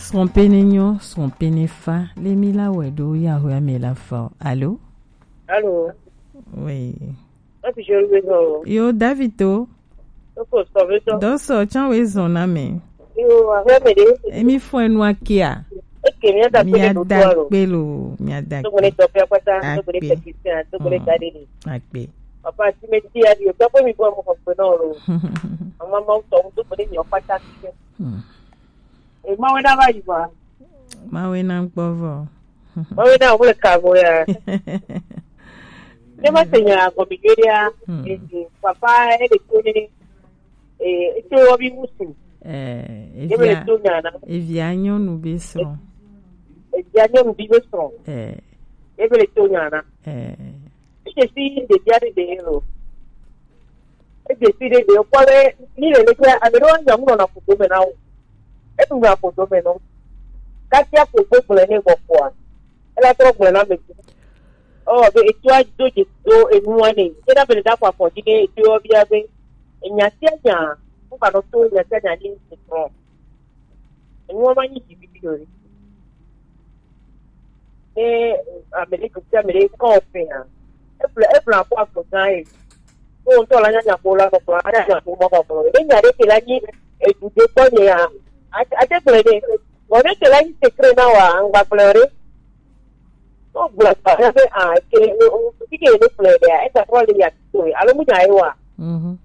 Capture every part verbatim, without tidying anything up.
Srɔ̃ pe ne nyɔ, srɔ̃ pe ne fa, le mi la wɛ ɖo Yahweh ame la fa o. Alo? Alo? Oui. Ati joli be zɔn o. Yo, David o. Oko sɔ be zɔn. Dɔ sɔ can we zɔn na me. Yo, ahwe me de. Emi fɔ enu akia. Eke mi ada pe do to alo. Pe lo, mi ada. To mo ne to pe apata, to mo ne technicien, to mo ne gade ni. Akpe. Papa, si me ti ya di o, to pe mi bo mo ko pe no lo. Mama ma to, to mo ne mi o pata. Hmm. E Mawe na va yi va. Mawe na gbɔ vɔ. Mawe na wole ka go ya. Ne ma se nya go mi yo ya. Hmm. E, e, papa e de ko ni. E, e to obi musu. Eh, e be le to nya na. Evia nyɔnu be srɔ̃. Evia nyɔnu bi be srɔ̃. Eh. E be le to nya na. Eh. Ete si ɖevia ɖe ɖe lo. Ete si ɖe ɖe kpɔ ɖe ni le le kple ame ɖewo nya ŋlɔ na ƒodo me na wo. Etu nya ƒodo me nɔ. Katia ko gbogblẽ ne gbɔ kpɔa. Ela trɔ gblẽ na me tu. Ɔ be etua do dze do enua ne. Ena be le da kɔ afɔ dzi ne etua bia be enya sia nya. Ŋka nɔ to enya sia nya ni trɔ. Enuwo ma nyi dziɖuɖu o. Ne ame ɖe, dukɔ ame ɖe kɔ fea, eƒle, eƒle akɔ agbe gã ye. Ko ŋutɔ la nya nya ko la kɔkɔ, anya nya ko mɔ kɔkɔ. Ne nya ɖe ke la nyi edu ɖe kpɔ nye ya, ate, ate gblɔe nɛ. Vɔ ne ke la nyi secret na wa, ŋgba gblɔe o ɖe. Wogblɔ gblɔ ɖe be, ah, ke, o, o, fi ke ne gblɔe ɖea, esa trɔ le ya to, alo mu nya ye wa. Mhm.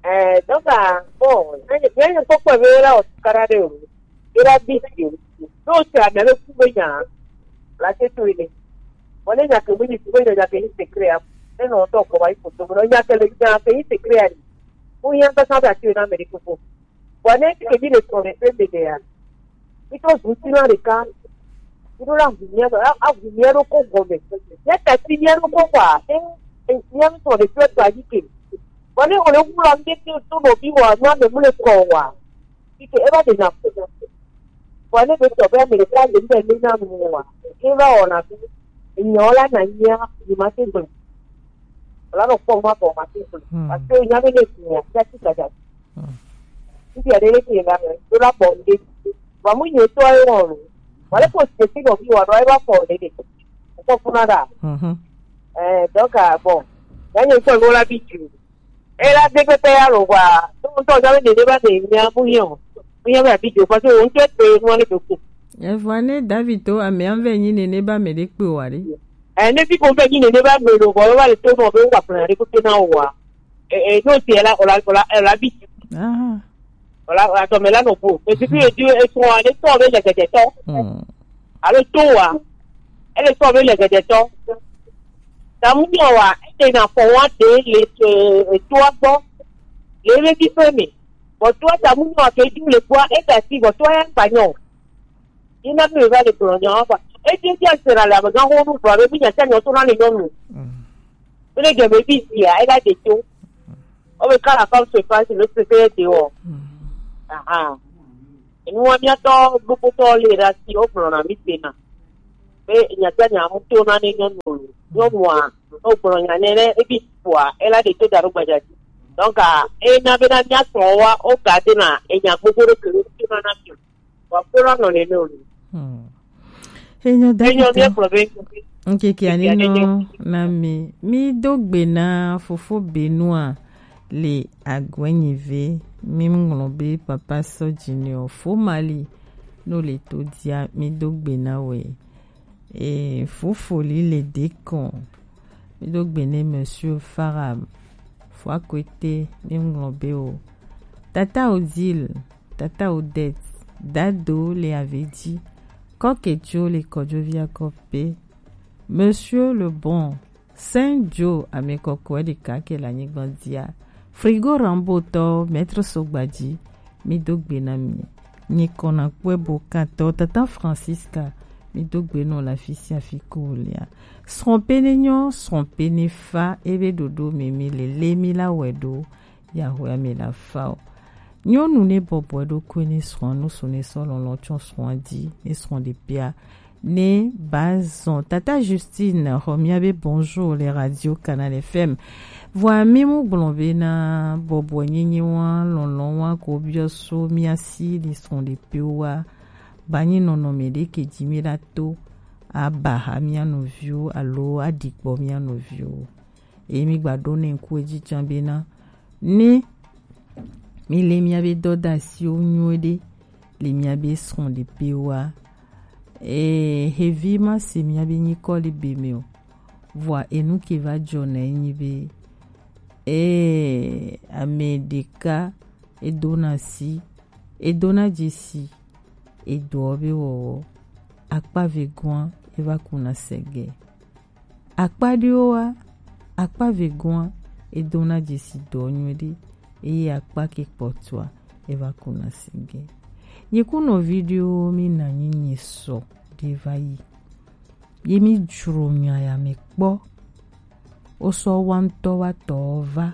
Eh, donc, ah, bon, ne, ne, ne kpɔkpɔ be la o kara ɖe o, e la bi si o. N'o se ame le ku be nya, la se to ile. Bon, ne nya ke mu ni ku be nya ke ni secret a, ne no to ko ba yi foto, no nya ke le nya ke ni secret a ni. Mu ya ba sa ba ti na me de ko. Vɔ ne ke mi le srɔ̃ɖeƒe me ɖea, mi to ŋutilã ɖeka, mi ɖo la ʋu mia ɖo, a-, aʋu mia ɖo ko gɔme. Mia tati mia ɖo ko kɔa, e, e, mia ŋutɔ ɖe ƒe to anyi ke. Vɔ ne wòle wu la, mi ɖe to nɔvi wa, nua me mu le kɔ wa. Fi ke eva ɖe na ko. Vɔ ne be tɔ be ame ɖeka le ŋutɔ ne na nu wa, eva wɔna fi. Enyawo la na nyia, ni ma se gbe. Wòla nɔ kpɔ nua bɔ ma se gbe. Hmm. Parce que nya be ne fi ya, ya ti gada. Hmm. Ŋutsu aɖe le fi la me, do la bɔ ŋde. Vɔ mu nye tɔ ye wɔn lo. Wale ko se fi nɔ fi wa ɖo, eva fɔ ɖe ɖe. Kɔ funa ɖa. Mhm. Eh, donc, ah, bon. Ya nye ŋutɔ lo la bi ju. E la de kpekpe ya lo gba. To ŋutɔ ja be nene ba de nya bu yɔ. Bu yɔ be abi jo, parce que o ŋutɔ te mo le do ko. Evɔ ne David to ame an ve nyi nene ba me de kpe wa ɖe. Eh, ne fi ko be nyi nene ba me lo, vɔ, va le to mo be wa plan de ko te na wa. Eh, eh, no te la, o la, o la, o la bi. Aha. Wala, atɔ me la nɔ bo. Esi fi edu esrɔ̃ ale tɔ be le gɛdɛtɔ. Hmm. Alo to wa. Ele tɔ be le gɛdɛtɔ. Tamu nyɔ wa, ete na fɔ wa de le, e, etoa gbɔ. Le be bi fe me. Bɔ toa tamu nyɔ ke du le gbɔ, e da si bɔ toa ya kpa nyɔ. Yi na mi va le gblɔ nya wa. E je je se la le amegã ho nu gblɔ be mi nya sia nya to na le nyɔnu. Hmm. Ele je be bi sia, e la de to. Wo be quand la femme se fâche, le secret est dehors. Hmm. Aha. Enu wa miatɔ gbogbo tɔ le ɖe asi, wo gblɔ na mi se na. Be nya sia nya mu to na ne nyɔnu o. Nyɔnua, wo gblɔ nya ne ne ebi kpɔa, ela de to da ɖo gbadza dzi. Donc, ah, e na be na mia srɔ̃ wa, wo ga de na enya gbogbo ɖe ke wo to na na mi. Wa kpɔ la nɔ nene o. Hmm. Enyo David. Enyo mi kplɔ be. Nkeke ani no na mi. Mi do gbe na fofo Benua le agwenyi ve. Mi ŋlɔ be papa sɔ junior fo mali no le to dia. Mi do gbe na we. E fofo li le dekɔn. Mi do gbe ne monsieur Farab. Fo akwete mi ŋlɔ be o. Tata Odile. Tata Odette, Dado le Avedi, Kɔkejo le Kɔjovia Kɔpe, Monsieur le Bon, Saint Joe, ame kɔkɔe ɖeka ke le anyigba dzia, Frigo Rambo tɔ, Maître Sogbaji, mi do gbe na mi. Nyi kɔna kpɔe bo katɔ, Tata Francisca, mi do gbe nɔ le afi sia afi ko lea. Srɔ̃ pe ne nyɔ, srɔ̃ pe ne fa, ebe ɖoɖo mi mi le le mi la wɛ ɖo. Yahweh ame la fa o. Nyɔnu ne bɔbɔe ɖokui ne srɔ̃a, nusu ne sɔ lɔlɔ̃ tsɔ srɔ̃a dzi, ne srɔ̃ ɖe pia, ne ba zɔn. Tata Justine, xɔ mia be bonjour le Radio Canal F M. Vɔa mi mu gblɔ be na bɔbɔe nyenye wa, lɔlɔ̃ wa ko biɔ so mia si le srɔ̃ ɖe pio wa. Ba nyi nɔnɔme ɖe ke ji mi ɖa to aba ha mia nɔviwo alo aɖi gbɔ mia nɔviwo. Eye mi gba ɖo ne ŋku edzi can bena ne mi le miabe dɔdasiwo nyuie ɖe le miabe srɔ̃ɖepewoa, ee, xevi ma se miabe nyikɔ le be me o. Vɔa enu ke va dzɔ na enyi be, ee, ame ɖeka edona si, edona dzesi edɔ be wɔwɔ, akpa vegɔa eva kuna sege. Akpa ɖewoa, akpa vegɔa edona dzesi dɔ nyuie ɖe, eye akpa ke kpɔtɔa eva kuna sege. Nye kunɔ video mi na nyi nye sɔ ɖe va yi. Ye mi dzro nya ya me kpɔ. Wo sɔ wa ŋutɔ wa tɔ va.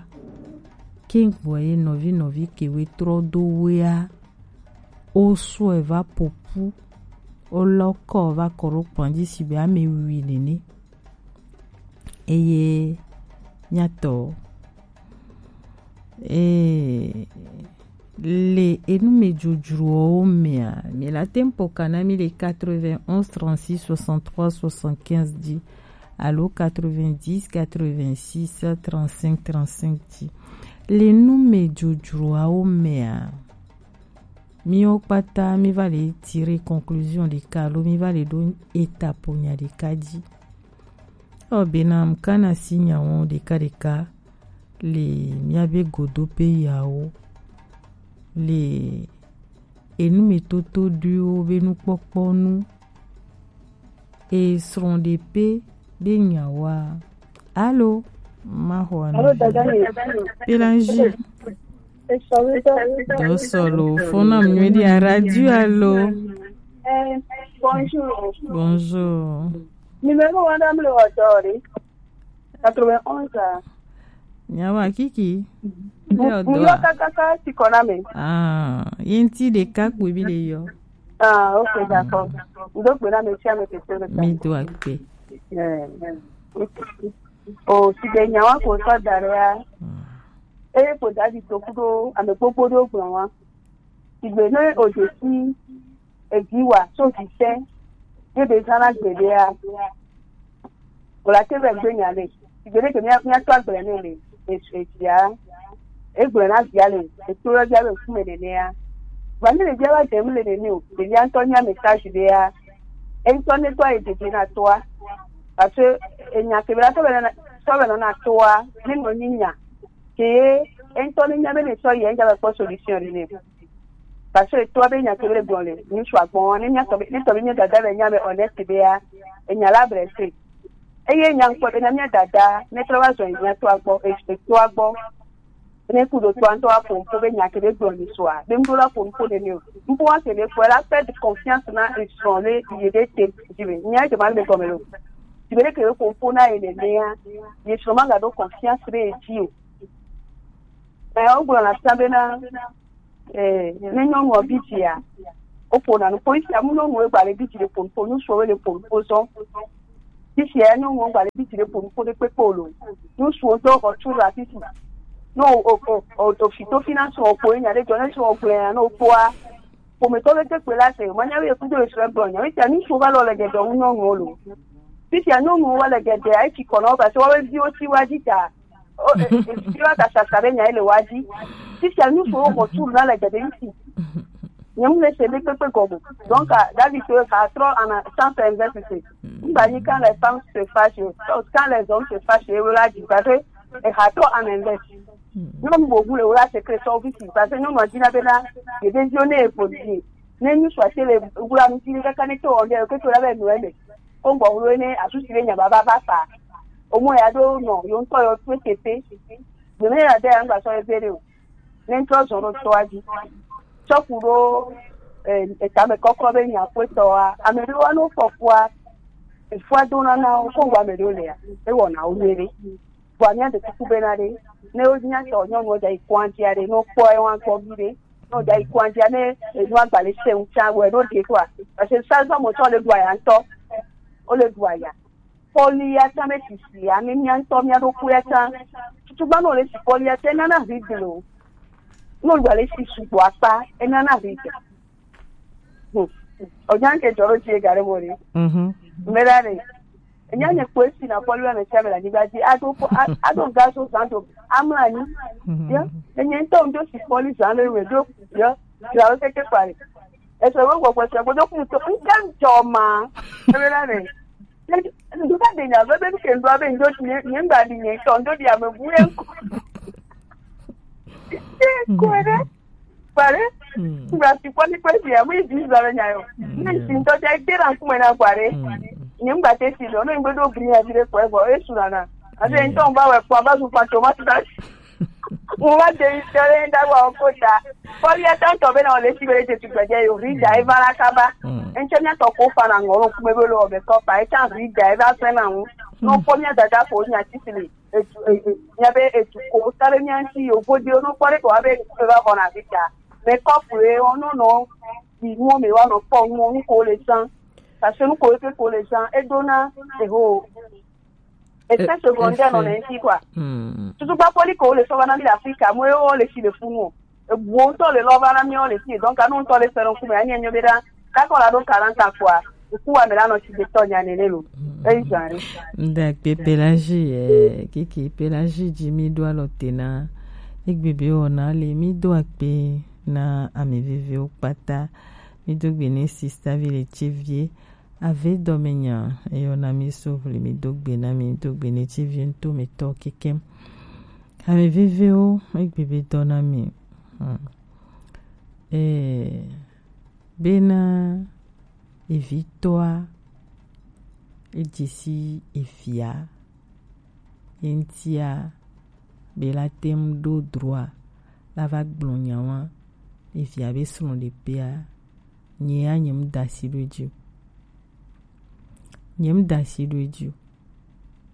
Ke gbɔ ye nɔvi nɔvi ke we trɔ do wea. Wo sɔ e va popu. Wo lɔ kɔ va kɔ ɖo kplɔn dzi si be ame wi nene. Eye nyatɔ, ee, le enu me dzodzrowo mea, mi la tempo kana mi le quatre-vingt-onze trente-six soixante-trois soixante-quinze dzi alo quatre-vingt-dix quatre-vingt-six trente-cinq trente-cinq dzi. Le nu me dzodzroawo mea, miwo kpata mi va le tirer conclusion ɖeka alo mi va le ɖo étape nya ɖeka dzi. Ɔ bena mkana si nyawo ɖeka ɖeka le miabe godope yawo le enumetoto ɖuiwo be nukpɔkpɔ nu. E srɔ̃ɖepe ɖe nyawoa. Alo, maxɔ Alo, dada ye. Pelangi. Esɔwetɔ. Dɔ sɔlo, fona mnyueɖi a radio alo. Eh, bonjour. Bonjour. Numéro wana mle ɔdɔ re. Quatre-vingt-onze a. Nyawa kiki. Mu- Lé ɔdɔ muyɔ a. Kakaka si kɔna me. Ah, yenti ɖeka kpoe bi le yɔ. Ah, ok, d'accord. Ndo gbe na me tia me keke le. Mi do akpe. Eh, ok. O, si be nyawa ko sɔ da re ya. Ah. Eye ko da di to kudo ame gbogbo ɖewo gblɔ wa. Sigbe ne o je si evi wa so vi se ye be zana gbe ɖea. O la te be gbe nya le. Sigbe ne ke mia mia to agble ne le. E e ya. E gbe na via le. E to ya be kume ne ne ya. Ba ne le via wa dem le ne ne o. Ɖevia ŋutɔ nya message ɖea. E ŋutɔ ne to e dede na toa. Parce que enya ke be la to be na to be na toa. Ne no nyi nya. Ke ye, eŋutɔ ne nya be ne sɔ yi, enya be kpɔ solution ɖe nɛ. Parce que etɔa be nya ke be le gblɔ le, ŋutsu agbɔn, ne nya tɔ be, ne tɔ be mia dada le nya me honnête be ya, enya la blessé. Eye nya ŋkpɔ be na mia dada, ne trɔ va zɔ nya tɔa gbɔ, e- etɔa gbɔ. Ne ku do tɔa ŋutɔ aƒo ŋkpo be nya ke be gblɔ le sɔa, be ŋdo la ƒo ŋkpo ne ne o. Ŋkpo wa ke be fɔ la perdre confiance na esrɔ̃ le ye de te, dzi be, nya ke ma le gɔme lo. Dzi be ne ke be ƒo ŋkpo na ye nenea, ye srɔ̃ ma ga ɖo confiance ɖe ye dzi o. Ɛ, wogblɔna fia bena, ɛ, ne nyɔnuɔ bi dzia, woƒona nu ƒo. Fifia mu nyɔnuwo gba le bi dzi le ƒo nu ƒo, ŋutsuwo le ƒo nu ƒo zɔ. Fifia nyɔnuwo gba le bi dzi le ƒo nu ƒo ɖe kpekpe o lo. Ŋutsuwo ŋutɔ xɔ tu le afi si. Ne o o o o fi to finance o ƒo nya ɖe dzɔ ne sɔ o gblẽ ne o kpɔa. Ƒometɔ ɖe te kpe la se, manya be kudo esrɛ gblɔ nya. Fifia ŋutsuwo va lɔ le dzedzɔ wu nyɔnuwo lo. Fifia nyɔnuwo va le dzedzea, esi kɔ na wo, parce que woawo viwo si wa dzi ta. O, e, e, fi wa ta sasa ɖe nya ele wa dzi. Fifia ŋutsuwo xɔ tu na le dzedzem si. Nye mu le se ɖe kpekpe gɔme. Donc, ah, David to ka trɔ ana sans investi se. Ngba nyi quand les femmes se fâchent, quand les hommes se fâchent, e la dzi, parce que e ha trɔ ana investi. Nyɔnu vovu le wla secret sɔ vi si, parce que nyɔnua dina bena, ye ɖe viwo ne e ƒo dzi. Ne ŋutsua te le wla nu dzi kaka ne to ɔnde, ke to la be nu eme. Ko ŋgbɔ wlo ne asusi be nya baba va fa. Omo ya ɖo nɔ, yo ŋutɔ yo tue teƒe. Gbe me ya de ya ŋgba sɔ ebe ɖe o. Ne ŋutɔ zɔ ɖo tɔa dzi. Tsɔ ku ɖo, eh, etame kɔkɔ be nya ƒe tɔa. Ame ɖewo ne wofɔ kua, efua dona na wo, ko ŋgɔ ame ɖewo lea, ewɔna wo nyuie ɖe. Vɔa míaɖe kuku bena ɖe, ne wonya tɔ nyɔnuwo dza yi kɔa dzia ɖe, ne wokpɔ ewa gbɔ vi ɖe, ne wodza yi kɔa dzia, ne enua gba le se ŋu tsã, wɔe ɖo ɖe kɔa. Parce que sazɔ mɔtɔ le ɖu aya ŋutɔ, wole ɖu aya. Kpɔlia tsã be sisi ya, ne mía ŋutɔ mía ɖokuia tsã. Tutugbã ne wòle si kpɔlia tsã, enana vi gble o. Ne wògba le si sugbɔ akpa, enana vi gble. Hmm. Ojan ke joro ji gare mori. Mhm. Mera re. Enya nye kwe si na poli wa me cha me la ni ba ji. Ado ko a- ado gaso santo. Amla ni. Mhm. Ya. Enye nto ndo si poli zan le we do. Ya. Ya o ke ke pare. Eso wo wo ko se ko do ku to. Nkan joma. Mera re. Nduka de nya be be ke ndo abe ndo nye nye ngba di nye to ndo di ame bu en ko. Kwere. Kwere. Ngba ti kwani kwesi ya mu izi zara nya yo. Ni si nto ja ikera kuma na kwere. Nye ngba te si lo no ngbe do bri ya dire kwe bo e sura na. Ase nto ngba we kwa ba su pa to ma ta. Mo ma de isere nda wa okota. Poli ya tanto be na ole si bere te tu gbaje yo rida e bara kaba. Enche nya to ko fa na ngoro kuma be lo be ko pa e cha rida e ba se na mu. No ko nya dada ko nya tisili. Etu e- e- nya be etu ko sare nya si yo bo de no kwere ko abe ko ba ko na rida. Me ko fu e ono no. Bi mo me wa no ko mo ko le san. Parce que nous ko ke ko le san e dona e ho. Effet secondaire non ainsi quoi. Tutu ba poli ko le so ba na mi Afrika mo e o le si le fu mo. E wo to le lo ba na mi o le si donc anu to le se no ku me anya nyo be da. Ka ko la do quarante quoi. Ku wa me la no si de to nya ne le lo. E jare. Ndakpe Pelagie, eh, kiki Pelagie ji mi do alɔ te na. Egbe be o na le mi do akpe na ami vivi o kpata. Mi do gbe ne sista vi le chevie. Ave dɔme nya, eyɔ na mi so vli mi do gbe na mi do gbe ne chevie nto mi tɔ kekem. Ami vivi o, egbe be dɔ na mi. Hmm. Eh, bena evitɔa, edze si evia, ye ŋutia, be la te ŋu ɖo droa, la va gblɔ nya wa, evia be srɔ̃ɖeƒea, nye ya nye ŋu da asi ɖo edzi o. Nye ŋu da asi ɖo edzi o.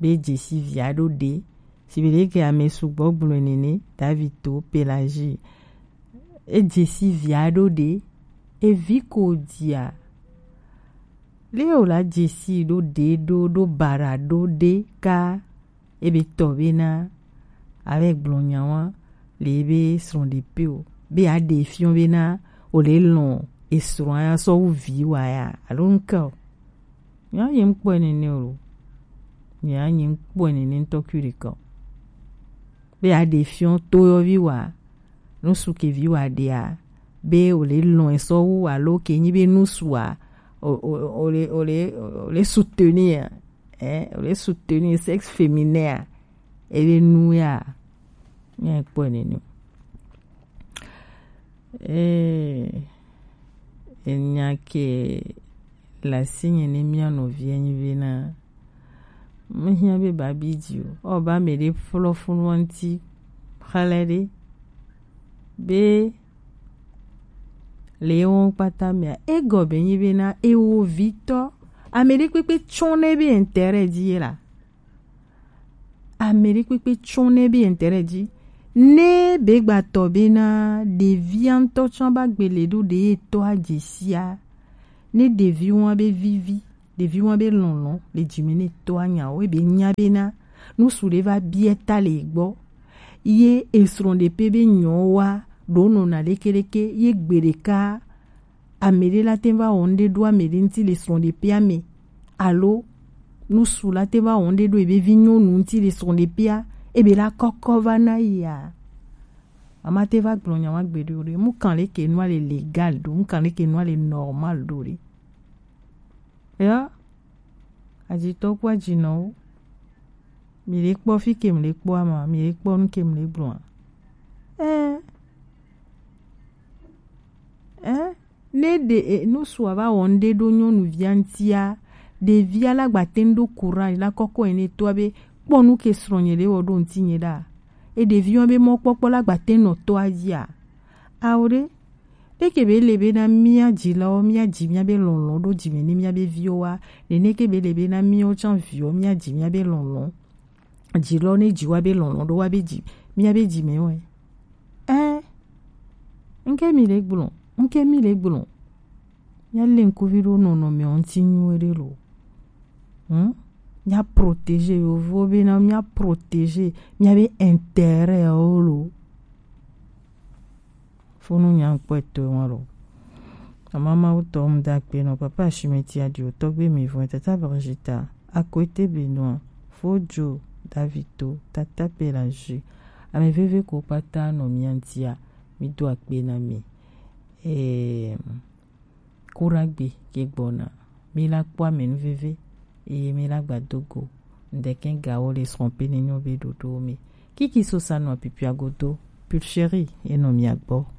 Be dze si via ɖo ɖe, si be ɖeke ame sugbɔ gblɔe nene, David to Pelagie. Edze si via ɖo ɖe, evi ko dia. Le o la dze si ɖo ɖe ɖo ɖo bara ɖo ɖe ka ebe tɔ bena ave gblɔ nya wa le ebe srɔ̃ɖeƒe o. Be aɖe fiɔ bena o le lɔ̃ esrɔ̃a ya sɔ wu vi wa ya alo ŋke o. Nya nye ŋkpɔe nene o. Nya nye ŋkpɔe nene ŋutɔ kui ɖeka o. Be aɖe fiɔ toyɔvi wa, nusu ke vi wa ɖea, be o le lɔ̃ esɔ wu alo ke nyi be nusu a, o o o le o le o le soutenir, eh, o le soutenir sexe féminin a, ebe nu ya, nya kpɔe nene o. Eh, enya ke le asinye ne mía nɔvia nyi bena, mehiã be babi dzi o. Ɔ, ba me ɖe flɔ funu ŋuti xlẽ ɖe be le wo kpata mea, egɔme nyi bena ewo vitɔ, ame ɖe kpekpe tsɔ ne be intérêt dzi ye la. Ame ɖe kpekpe tsɔ ne be intérêt dzi. Ne be gbatɔ bena ɖevia ŋutɔ tsɔ ba gbele ɖo ɖe etɔa dzesia. Ne ɖevi wa be vivi, ɖevi wa be lɔlɔ le dzime ne etɔa nyawo, ebe nya bena nusu ɖe va bia ta le egbɔ. Ye esrɔ̃ɖeƒe be nyɔ wa ɖo nɔna ɖekeɖeke ye gbe ɖeka ame ɖe la te va wɔ ŋɖe ɖo ame ɖe ŋuti le srɔ̃ɖeƒea me, alo nusu la te va wɔ ŋɖe ɖo ebe vi nyɔnu ŋuti le srɔ̃ɖeƒea, ebe la kɔkɔ va na yia. Mama te va gblɔ nya wa gbeɖe o ɖe. Mu kan leke nua le légal ɖo, mu kan leke nua le normal ɖo ɖe. Ya, ajitɔ ku ajinɔwo. Mi le kpɔ fi ke mi le kpɔ ama, mi le kpɔ nu ke mi le gblɔ a. Eh. Eh. Ne ɖe e, nusua va wɔ ŋɖe ɖo nyɔnuvia ŋtia, ɖevia la gba te ŋu ɖo courage la kɔkɔ ene toa be kpɔ nu ke srɔ̃nye ɖe wɔ ɖo ŋutinye ɖa. E ɖeviwo be mɔkpɔkpɔ la gba te nɔ toa dzia. Ao ɖe, ɖeke be le be na mía dzilawo, mía dzi mía be lɔlɔ ɖo dzime ne mía be viwo wa, nene ke be le be na míawo tsã viwo mía dzi mía be lɔlɔ. Dzi lɔ ne dzi wa be lɔlɔ ɖo wa be dzi mía be dzi me wɛ. Ɛ, ŋke mi le gblɔ, ŋke mi le gblɔ. Mía le ŋkuvi ɖo nɔnɔme ŋuti nyuie ɖe lo. Hm? Mía protéger yovo be na mía protéger mía be intérêt wo lo. Fo nu nya kpɔtɔ wa lo. Mama Mawu tɔ mu da akpe nɔ papa Ashimeti Adio, tɔgbe mi vɔn, tata Brigita, Akwete Benoit, Fojo Davito, tata Pelagie, ame veve ko kpata nɔ mia ŋutia, mi do akpe na mi. Ee, kuragbe ke gbɔna, mi la kpɔ ame nu veve, eye mi la gba do go. Ŋdɛkɛ gawo le srɔ̃ pe nenyo be ɖoɖo mi. Kiki sosa nɔ pipia godo, Pulchérie enɔ mia gbɔ.